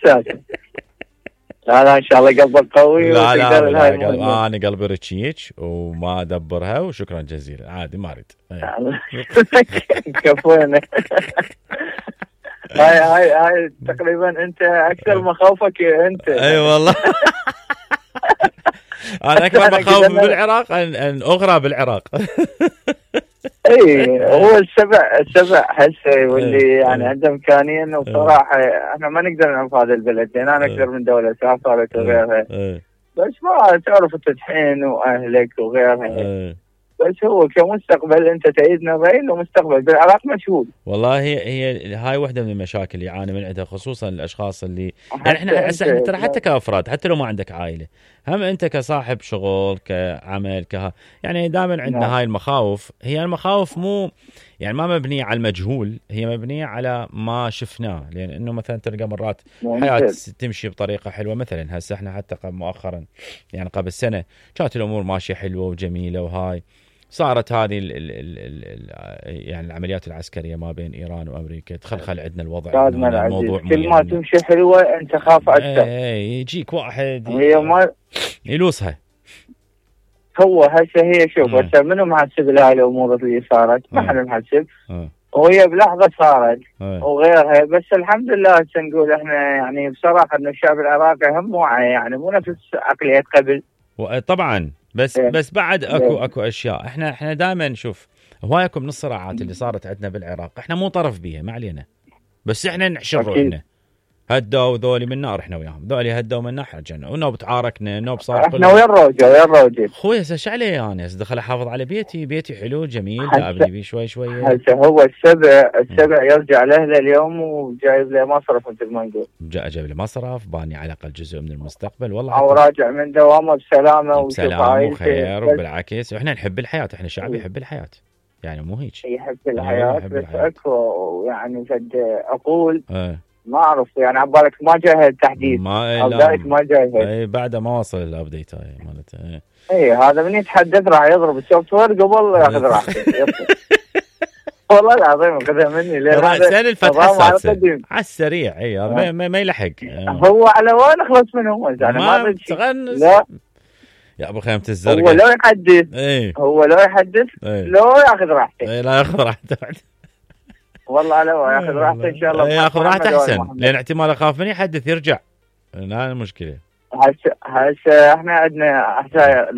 ساكت. لا ان شاء الله قلبك قوي. لا انا قلبي رتشيك وما ادبرها، وشكرا جزيلا. عادي ما اريد. كفونا. هاي تقريبا انت اكثر مخاوفك انت. اي والله. انا اكبر مخاوف بالعراق ان اغرى بالعراق. اي هو السبع هسه واللي يعني عنده امكانيه. وبصراحه احنا ما نقدر نعرف هذا البلد، لان انا اكثر من دوله سافرت وغيرها. بس ما تعرف التدحين واهلك وغيرها. بس هو كمستقبل انت تأيدنا الرأي ومستقبل بالعراق مشهود. والله هي هاي واحدة من المشاكل اللي يعاني من عندها، خصوصا الاشخاص اللي يعني احنا ترى حتى كافراد، حتى لو ما عندك عائله، هم انت كصاحب شغل كعمل يعني دائما عندنا هاي المخاوف. هي المخاوف مو يعني ما مبنيه على المجهول، هي مبنيه على ما شفناه. لان انه مثلا تلقى مرات حياه تمشي بطريقه حلوه. مثلا هسه احنا حتى مؤخرا يعني قبل سنه كانت الامور ماشيه حلوه وجميله، وهاي صارت هذه يعني العمليات العسكريه ما بين ايران وامريكا، تخلخل عندنا الوضع. الموضوع كل ما تمشي حلوه انت خاف اكثر. يجيك واحد هي ما يلوسها. هو هسه هي شوف هسه منو محسب لهاي الامور اللي صارت؟ ما حدا محسب. وهي بلحظه صارت وغيرها. بس الحمد لله هسه نقول احنا يعني بصراحه ان الشعب العراقي هم واعي، يعني مو نفس عقليات قبل. طبعا بس بعد اكو اشياء. احنا دائما نشوف هوايكم من الصراعات اللي صارت عندنا بالعراق احنا مو طرف بيها، ما علينا، بس احنا نحشر روحنا. هدوا ذولي من نار، احنا وياهم. ذولي هدوا من نار، رجعنا ونوب تعاركنا، نوب صار احنا ويا الروجه. اخوي هسه ايش علي يعني؟ هسه دخل احافظ على بيتي حلو جميل، ابني بيه شوي. هسه هو السبع يرجع لاهله اليوم وجايب له مصرف مثل ما نقول. جايب له مصرف، باني على الاقل جزء من المستقبل. والله او راجع من دوامه بسلامه وخير وبالعكس. واحنا نحب الحياه، احنا شعب يحب الحياه، يعني مو هيك يحب الحياه. بس اكو يعني قد اقول ما اعرف يعني عبالك ما جاي التحديث او ذلك ما جاي. اي بعد ما وصل الابديت هاي مالته. اي هذا من يتحدث راح يضرب السوفت وير قبل ياخذ راحته. والله العظيم خذها مني. رأسا الفتحة على السريع. اي هذا ما يلحق. هو على وين اخلص منه؟ يعني ما تغنس. لا يا ابو خيمة الزرقاء هو لو يحدث لو ياخذ راحته. لا ياخذ راحته. والله لو ياخذ راحته ان شاء الله. ياخذ راحته احسن، لان احتمال اخاف من يحدث يرجع. لا المشكله هسه احنا عندنا هسه